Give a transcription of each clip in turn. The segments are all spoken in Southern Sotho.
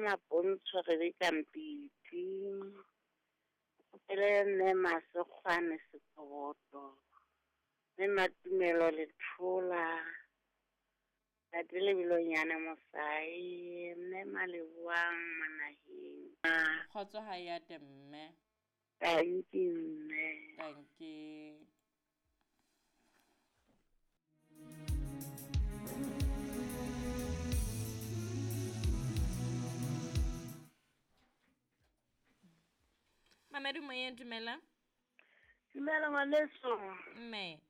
Mapontsho Rebecca Mpiti. Ke kopele mme Masekgwane Sekoboto, mme Matumelo Lethola, Tate Lebelonyane Mosai, mme Maleboang Monaheng. Kgotso ha e ate mme. Tanki mme. Tanki. Mamedi moyeng dumela. Dumela ngwaneso. Mme.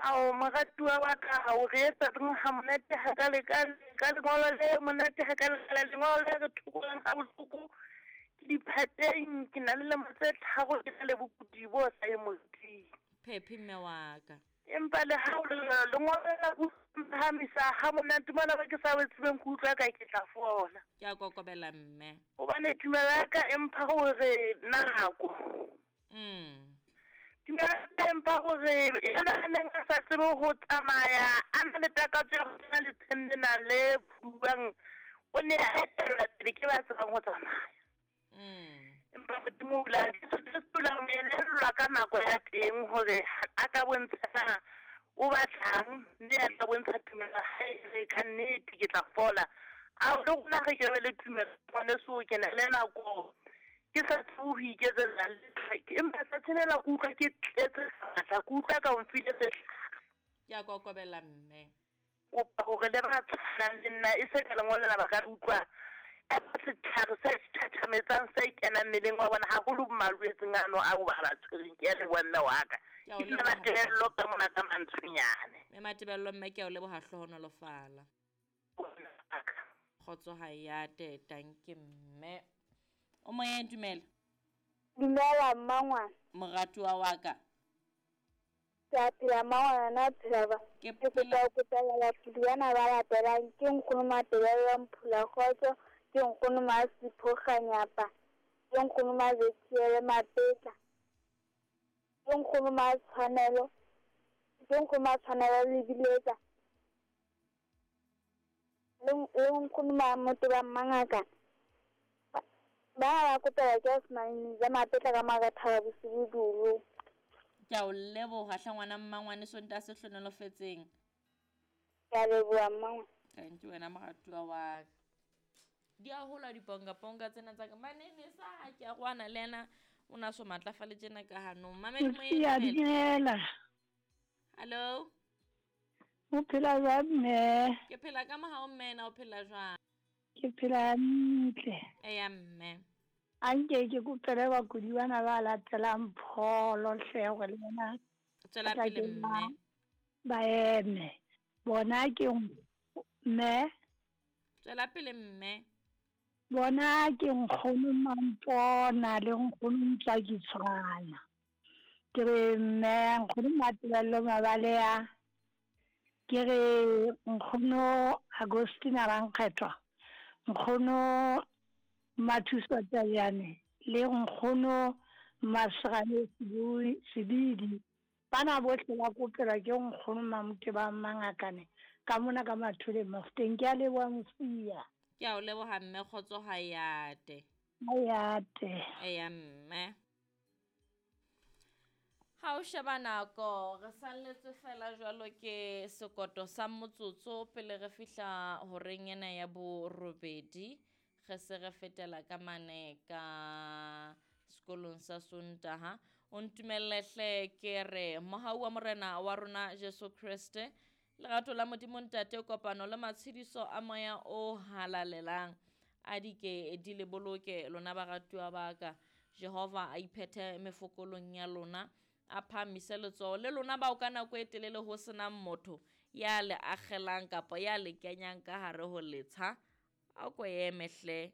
Ao moratuwa wa ka o re etsa reng ha monate ha ka le ka ka lengolo le monate ha ka le lengolo le re thokolang ha bohloko ke diphateng ke na le lemo tse tharo ke na le bokudi bo sa ye moriting. Phephi mme wa ka. Empa le ha o le jwalo lengolo la phahamisa ha monate mona ba ke sa tsebeng ke utlwa ka ke tla fola. Ke a kokobela mme. Hobane tumelo ya ka e mpha hore nako. Tumelo ya ka e mpha hore yena a neng a sa tsebe ho tsamaya a na le takatso ya ho kena letsheng lena le phuduwang o ne a etellwa pele ke ba tsebang ho tsamaya. Empa Modimo o ile a Jesu Kreste o ile a mo elellwa ka nako ya teng hore a ka bontsha na o batlang mme a tla bontsha tumelo ya hae e re ka nnete ke tla fola. Ao le rona re ke be le tumelo ngwaneso ke na le nako ke sa tsebe ho iketsetsa letho empa tsatsing lela ke utlwa ke tletse matla ke utlwa ka o mfile sehlare. Ke a kokobela mme. Kopa hore le ba tshwanang le nna e se ka lengolo lena ba ka utlwa ka setlhare se thathametsang se kenang mmeleng wa bona haholo malwetseng ano ao ba ba tshwereng. Ke a leboha mme wa ka. Ke a o Ke leboha. Matebello ka mona ka Mantsonyane. Mme Matebello mme ke a o leboha hlohonolofala. Kgotso ha e ate tanke mme. O moyeng dumela. Dumela mmangwana. Moratuwa wa ka. Ke a phela mmangwana na phela ba. Ke Ke kopa ho kopela bapudi bana ba latelang ke nkgono Matebello Mphula Kgotso, ke nkgono Masipho Kganyapa, ke nkgono Mazethiele Mapetla, ke nkgono Matshwanelo, ke nkgono Matshwanelo Lebiletsa, le le nkgono Mamoteba Mmangaka. Ba ba kopela ke Osman ja Mapetla ka Makathaba bosibu. Ke a o leboha hle ngwana mmangwane Sontaha se hlohonolofetseng. Ke a leboha mmangwane. Thank you wena moratuwa wa ka. Di a hola dipongaponga tsena tsa ka. Manene sa ha ke a rwana le yena o na so matlafale tjena ka hanong. Mamedi moyeng Mosia dumela. dumela. Hello. O phela jwang mme? Ke phela ka mohau mme na o phela jwang? Ke phela hantle. Eya mme. A nke ke kopele bakudi bana ba latelang pholo hle hore le bona Tswela ba tla pele ke mme. ba eme. Bona ke mme. Tswela pele mme. Bona ke nkgono Mampona le nkgono Ntswaki Tshwana. Ke re mme nkgono Matebello Mabalea. Ke re nkgono Agostina Rankgethwa. Nkgono Mathuso Tayane le nkgono Masrane Sebidi. Bana bohle ba kopelwa ke nkgono Mamoteba Mangakane ka mona ka Mathole Mafuteng. Ke a leboha Mosia. Ke a o leboha mme kgotso ha e ate. Ha e ate. Eya mme. Ha o sheba nako re salletswe fela jwalo ke sekoto sa motsotso pele re fihla horeng ena ya borobedi. Re se re fetela ka mane ka sekolong sa Sontaha. O ntumelle hle ke re mohau wa Morena wa rona Jesu Kreste, lerato la Modimo Ntate, kopano le matshediso a moya o halalelang a di ke di le boloke lona baratuwa ba ka. Jehova a iphethe mefokolong ya lona, a phahamise letsoho le lona bao ka nako e telele ho senang motho ya le akgelang kapa ya le kenyang ka hare ho letsha. A ko eme hle,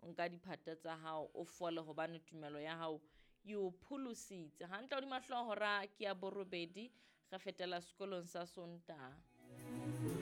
o nka diphate tsa hao o fole hobane tumelo ya hao e o pholositse. Hantle hodima hlooho hora ke ya borobedi, re fetela sekolong sa Sontaha.